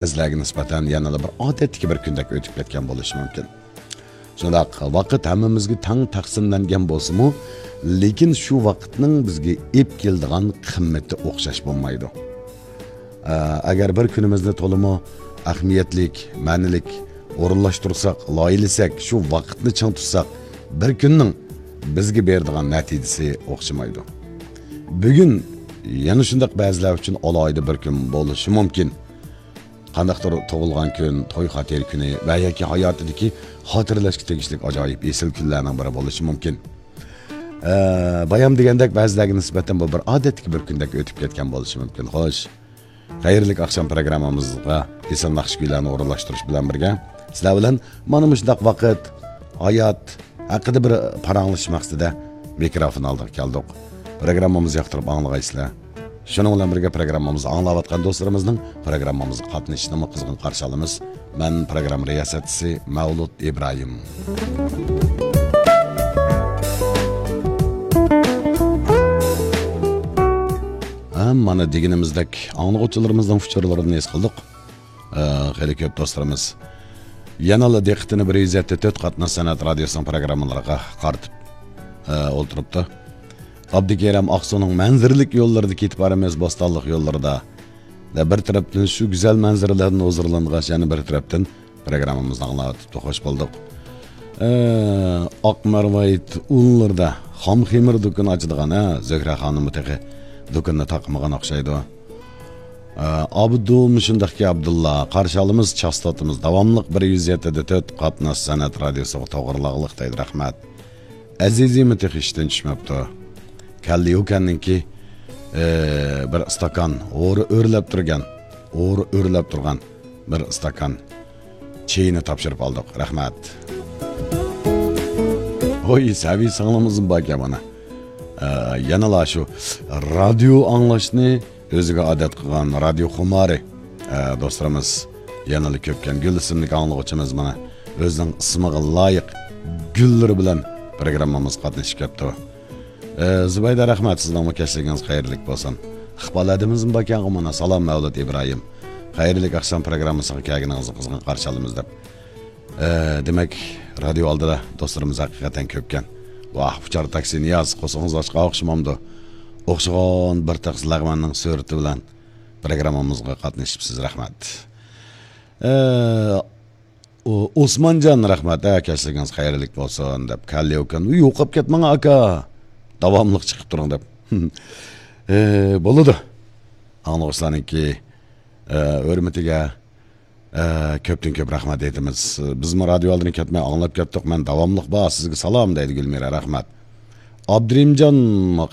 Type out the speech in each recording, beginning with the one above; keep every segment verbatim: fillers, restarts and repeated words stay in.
بەزىلەرگە نىسبەتەن يەنىلا بىر ئادەتتىكى بىر كۈندەك ئۆتۈپ كەتكەن بولۇشى مۇمكىن. شۇنداق، ۋاقىت ھەممىمىزگە تەڭ تەقسىملەنگەن بولسىمۇ، لېكىن شۇ ۋاقىتنىڭ بىزگە ئېلىپ كېلىدىغان قىممىتى ئوخشاش بولمايدۇ. ئە، ئەگەر بىر كۈنىمىزنى تولىمۇ ئەھمىيەتلىك، مەنىلىك ئورۇنلاشتۇرساق، لايىھەلىسەك، شۇ ۋاقىتنى چىڭ تۇتساق، بىر كۈننىڭ بىزگە بېرىدىغان نەتىجىسى ئوخشىمايدۇ. بۈگۈن يەنە شۇنداق بەزىلەر ئۈچۈن ئالاھىدە بىر كۈن بولۇشى مۇمكىن. قانداقتۇر تۇغۇلغان كۈن، توي خاتىرە كۈنى ۋە ياكى ھاياتىدىكى خاتىرىلەشكە تېگىشلىك ئاجايىپ ئېسىل كۈنلەرنىڭ بىرى بولۇشى مۇمكىن. ئە، بايام دېگەندەك بەزىلەرگە نىسبەتەن بۇ بىر ئادەتتىكى بىر كۈندەك ئۆتۈپ كەتكەن بولۇشى مۇمكىن. خوش. خەيرلىك ئاخشام پروگراممىمىزغا ئېسىل ناخشا كۈيلەرنى ئورۇنلاشتۇرۇش بىلەن بىرگە، سىلەر بىلەن مانا مۇشۇنداق ۋاقىت، ھايات ھەققىدە بىر پاراڭلىشىش مەقسىتىدە مىكروفون ئالدىغا كەلدۇق. پروگراممىمىزنى ياقتۇرۇپ ئاڭلىغايسىلەر. شۇنىڭ بىلەن بىرگە پروگراممىمىزنى ئاڭلاۋاتقان دوستلىرىمىزنىڭ پروگراممىمىزغا قاتنىشىشىنىمۇ قىزغىن قارشى ئالىمىز. مەن پروگرامما رىياسەتچىسى مەۋلۇت ئىبراھىم. ھە، مانا دېگىنىمىزدەك ئاڭلىغۇچىلىرىمىزنىڭ ئۇچۇرلىرىنى ھېس قىلدۇق. ئە، خېلى كۆپ دوستلىرىمىز يەنىلا دىققىتىنى بىر يۈز يەتتە تۆت قاتناش سەنئەت رادىيوسىنىڭ پروگراممىلىرىغا قارىتىپ، ئە، ئولتۇرۇپتۇ. ئابدۇكېرەم ئاقسۇنىڭ مەنزىرىلىك يوللىرىدا كېتىپ بارىمىز، بوستانلىق يوللىرىدا. دە بىر تەرەپتىن شۇ گۈزەل مەنزىرىلەردىن ھۇزۇرلانغاچ، يەنە بىر تەرەپتىن پروگراممىمىزنى ئاڭلاۋېتىپتۇ. خوش بولدۇق. ئە، ئاق مەرۋايىت ئۇنلىرىدا خام خېمىر دۇكىنى ئاچىدىغان، ھە، زۆھرە خانىممۇ تېخى دۇكىنىنى تاقىمىغان ئوخشايدۇ. ئە، ئابدۇل مۇشۇنداقكى ئابدۇللا، قارشى ئالىمىز، چاستوتىمىز داۋاملىق بىر يۈز يەتتە دە تۆت قاتناش سەنئەت رادىيوسىغا توغرىلاغلىق دەيدۇ، رەھمەت. ئەزىزىمۇ تېخى ئىشتىن چۈشمەپتۇ. كەلدى يۇكەننىڭكى، ئە، بىر ئىستاكان ھورا ئۆرلەپ تۇرغان، ھورا ئۆرلەپ تۇرغان بىر ئىستاكان چېيىنى تاپشۇرۇپ ئالدۇق. رەھمەت. ھوي، سەۋىي سىڭلىمىزمۇ باركەن مانا. ئە، يەنىلا شۇ رادىيو ئاڭلاشنى ئۆزىگە ئادەت قىلغان رادىيو خۇمارى، ئە، دوستلىرىمىز يەنىلا كۆپكەن. گۈل ئىسىملىك ئاڭلىغۇچىمىز مانا ئۆزىنىڭ ئىسمىغا لايىق گۈللىرى بىلەن پروگراممىمىزغا قاتنىشىپ كەپتۇ. ئە، زۇبەيدە، رەھمەت، سىزنىڭمۇ كەچلىكىڭىز خەيرلىك بولسۇن. ئىقبال ھەدىمىزمۇ باركەن مانا، سالام مەۋلۇت ئىبراھىم. خەيرلىك ئاخشام پروگراممىسىغا كەلگىنىڭىزنى قىزغىن قارشى ئالىمىز دەپ. ئە، دېمەك، رادىيو ئالدىدا دوستلىرىمىز ھەقىقەتەن كۆپكەن. ۋاھ، ئۇچار تاكسى نىياز، قورسىقىڭىز ئاچقان ئوخشىمامدۇ؟ ئوخشىغان بىر تاكسى لەغمەننىڭ سۈرىتى بىلەن پروگراممىمىزغا قاتنىشىپسىز، رەھمەت. ئە، ئۇ، ئوسمانجان، رەھمەت، ھە، كەچلىكىڭىز خەيرلىك بولسۇن دەپ، كاللىيۇكەن، يوقاپ كەتمەڭ ئاكا، داۋاملىق چىقىپ تۇرۇڭ دەپ. ئە، بولىدۇ. ئاڭلىغۇچىلارنىڭكى، ئە، ھۆرمىتىگە، ئە، كۆپتىن كۆپ رەھمەت ئېيتىمىز. بىزمۇ رادىيو ئالدىدىن كەتمەي ئاڭلاپ كەتتۇق. مەن داۋاملىق بار، سىزگە سالام دەيدۇ گۈلمىرا، رەھمەت. ئابدۇرېھىمجان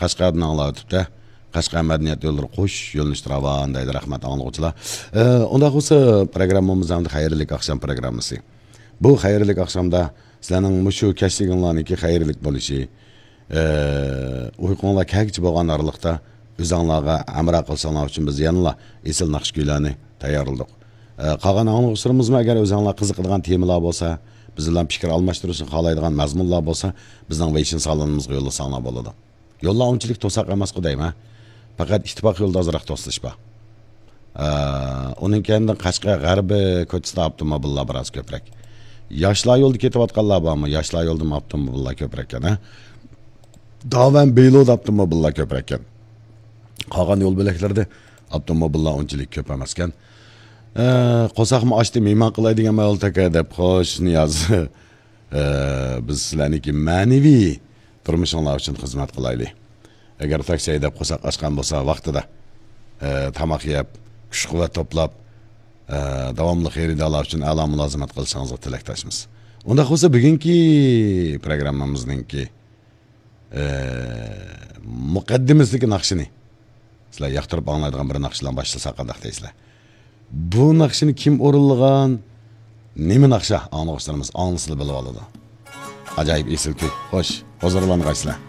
قەشقەردىن ئاڭلاۋېتىپتۇ. قەشقەر مەدەنىيەت يوللىرى قوش يۆنىلىشتە راۋان دەيدۇ، رەھمەت ئاڭلىغۇچىلار. ئە، ئۇنداق بولسا پروگراممىمىز ھەمدە خەيرلىك ئاخشام پروگراممىسى. بۇ خەيرلىك ئاخشامدا سىلەرنىڭ مۇشۇ كەچلىكىڭلارنىڭكى خەيرلىك بولۇشى، ئە، ئۇيقۇڭلار كەگىچە بولغان ئارىلىقتا ئۆزۈڭلارغا ھەمراھ قىلىشىڭلار ئۈچۈن بىز يەنىلا ئېسىل ناخشا كۈيلەرنى تەييارلىدۇق. ئە، قالغان ئاڭلىغۇچىلىرىمىزمۇ ئەگەر ئۆزۈڭلار قىزىقىدىغان تېمىلار بولسا، بىز بىلەن پىكىر ئالماشتۇرۇشنى خالايدىغان مەزمۇنلار بولسا، بىزنىڭ ۋېيشىن سالونىمىزغا يوللىساڭلار بولىدۇ. يوللار ئۇنچىلىك توساق ئەمەسقۇ دەيمەن. پەقەت ئىتتىپاق يولىدا ئازراق توسۇلۇش بار. ئە، ئۇنىڭ كەينىدىن قەشقەر غەربىي كوچىسىدا ئاپتوموبىللار بىراز كۆپرەك. ياشلار يولىدا كېتىۋاتقانلار بارمۇ؟ ياشلار يولىدىمۇ ئاپتوموبىللار كۆپرەككەن، ھە؟ داۋەن بېيلودا ئاپتوموبىللار كۆپرەككەن. قالغان يول بۆلەكلىرىدە ئاپتوموبىللار ئۇنچىلىك كۆپ ئەمەسكەن. ئە، قورساقمۇ ئاچتى، مېھمان قىلاي دېگەن مەۋلۇت ئاكا دەپ، خوش، نىياز. ئە، بىز سىلەرنىڭكى مەنىۋى تۇرمۇشۇڭلار ئۈچۈن خىزمەت قىلايلى. ئەگەر تاكسى ھەيدەپ قورساق ئاچقان بولسا، ۋاقتىدا، ئە، تاماق يەپ، كۈچ-قۇۋۋەت توپلاپ، ئە، داۋاملىق خېرىدارلار ئۈچۈن ئەلا مۇلازىمەت قىلىشىڭىزغا تىلەكداشمىز. ئۇنداق بولسا، بۈگۈنكى پروگراممىمىزنىڭكى، ئە، مۇقەددىمىسىدىكى ناخشىنى سىلەر ياقتۇرۇپ ئاڭلايدىغان بىر ناخشا بىلەن باشلىساق قانداق دەيسىلەر؟ بۇ ناخشىنى كىم ئورۇنلىغان؟ نېمە ناخشا؟ ئاڭلىغۇچىلىرىمىز ئاڭلىسىلا بىلىۋالىدۇ. ئاجايىپ ئېسىل كۈي. خوش، ھۇزۇرلانغايسىلەر.